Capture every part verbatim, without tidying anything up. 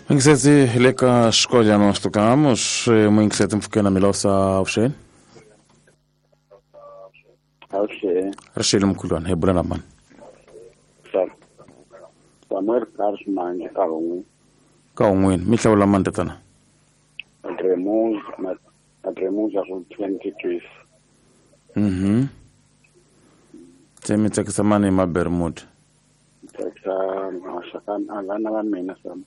Mingiseti le ka xikolwana nós tocamos, mingiseti mpfhukeni Milosa avuxeni. Avuxeni. Rixile mkhulwana, hi bula na mani? Samuel Carlos Mangi ka Hungwini. Ka Hungwini, mi hlawula mani tatana? Adremuza, Adremuza ku twenty twelve. Mhm. Se mi tsakisa mani hi Mabermuda? Tsakisa maxaka vana va mina Sam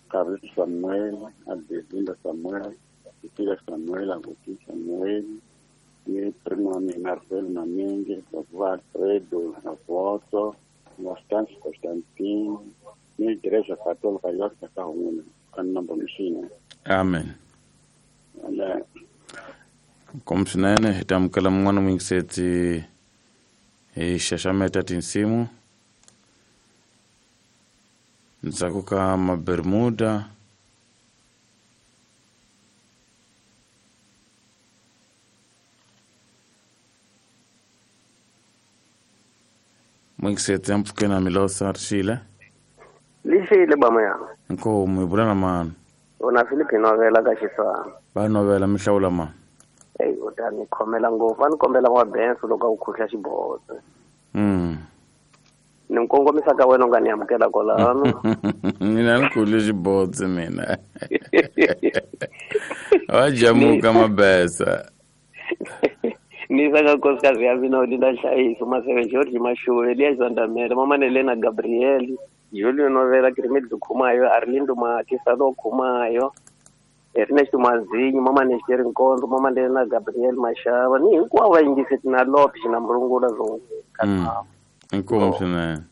Carlos Samuel, Adelinda Samuel, Tila Samuel, Agustin Samuel, ni primo wa mina Rafael Mamingi, Baba Alfredo Avoto, Constance Constantine, ni Igreja Católica yote ka Hungwini, ka Nambo Mishina. Amen. Amen. Kom swinene hi ta amukela mun'wana muyingiseti hi xaxameta tinsimu ndzhaku ka Mabermuda. Muyingiseti ampfhukeni na Milosa rixile. Lixile bama ya. Inkomu hi bula na mani? Una Philip novela ka Xisana. Va novela mi hlawula mani? Eyi u ta ni khomela ngopfu, a ni kombela N'wabenso loko a ku khuhla xibotse. Mm. Ni kongomisa ka wena u nga ni amukela kwalano. Mina ni khuhle xibotse mina. Wa jamuka mabesa. Ni saka nkosikazi ya mina Olinda Nhlayiso Maseve George Mashuve Elias Zandamela Mama Nelena Gabriel Julio Novela Grimildo Khumayo Arlindo Makisalo Khumayo Ernest Mazinyo Mama Nesheri Nkondo Mama Nelena Gabriel Mashava ni hinkwavo va yingiseti na Lopes na Murungula zonke. Inkomu swinene.